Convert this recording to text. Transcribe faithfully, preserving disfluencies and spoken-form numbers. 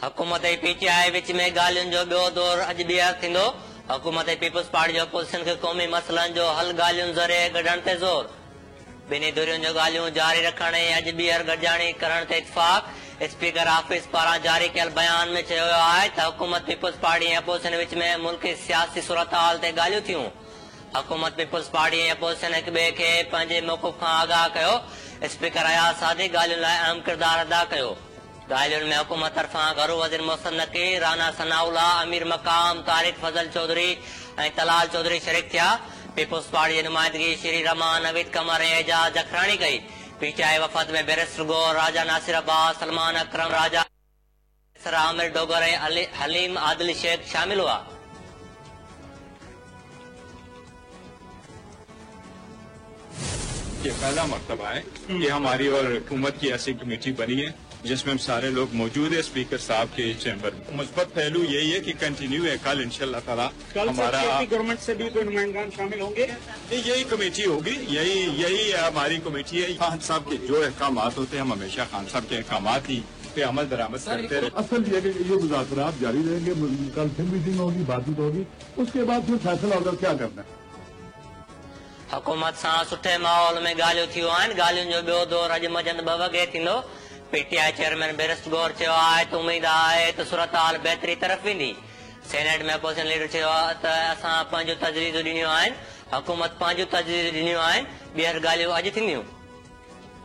हुकूमत ऐं P T I विच में ॻाल्हियुनि जो ॿियो दौर अॼु ॿीहर थींदो। हुकूमत ऐं पीपल्स पार्टी जो अपोज़िशन खे क़ौमी मसइलनि जो हल ॻाल्हियुनि ज़रिए कढण ते ज़ोर। ॿिन्ही धुरियुनि जो ॻाल्हियूं जारी रखण ऐं अॼु ॿीहर गॾिजाणी करण ते इतफ़ाक़। स्पीकर ऑफिस पारां जारी कयल बयान में चयो वियो आहे त हुकूमत पीपल्स पार्टी ऐं अपोज़िशन विच में मुल्की सियासी सूरत हाल ते ॻाल्हियूं थियूं। हुकूमत पीपल्स पार्टी ऐं अपोज़िशन हिक ॿिए खे पंहिंजे मौक़िफ़ खां आगाह कयो। स्पीकर अयाज़ सादिक ॻाल्हियुनि लाइ अहम किरदारु अदा कयो। ॻाल्हियुनि में हुकूमत तरफ़ां घरू वज़ीर मोहसिन नकवी, राना सनाउल्ला, अमीर मक़ाम, तारिक फज़ल चौधरी ऐं तलाल चौधरी शरीक थिया। पीपल्स पार्टी जी नुमाइंदगी श्री रमान, नवीद कमर ऐं एजाज़ जखराणी कई। पी टी I वफ़द में बैरिस्टर गौर, राजा नासिर अब्बास, सलमान अकरम, राजा आमिर डोगर ऐं हलीम आदिल शेख शामिल हुआ। ये पहला मरतबा है कि हमारी और हुकूमत की ऐसी कमेटी बनी है जिसमें हम सारे लोग मौजूद है स्पीकर साहब के चैम्बर में। मुस्बत पहलू यही है कि कंटिन्यू है। कल इंशाअल्लाह ताला हमारा गवर्नमेंट से भी कोई नुमाइंदान शामिल होंगे। यही कमेटी होगी, यही यही हमारी कमेटी है। खान साहब के जो अहकाम होते हैं हम हमेशा खान साहब के अहकाम ही पे अमल दरामद करते रहे। असल ये कि ये मुज़ाकरात जारी रहेंगे, कल फिर मीटिंग होगी, बातचीत होगी, उसके बाद फिर फैसला होगा क्या करना है। हुकूमत सां सुठे माहौल में ॻाल्हियूं थियूं आहिनि। ॻाल्हियुनि जो ॿियो दौर अॼु मंझंदि ॿ वॻे थींदो। P T I chairman barrister Gohar चयो आहे त उमेद आहे त सूरत हाल बहितरी तरफ़ वेंदी। सेनेट में अपोज़िशन लीडर चयो त असां पंहिंजूं तजवीज़ूं ॾिनियूं आहिनि, हुकूमत पंहिंजूं तजवीज़ूं ॾिनियूं आहिनि, ॿीहर ॻाल्हियूं अॼु थींदियूं।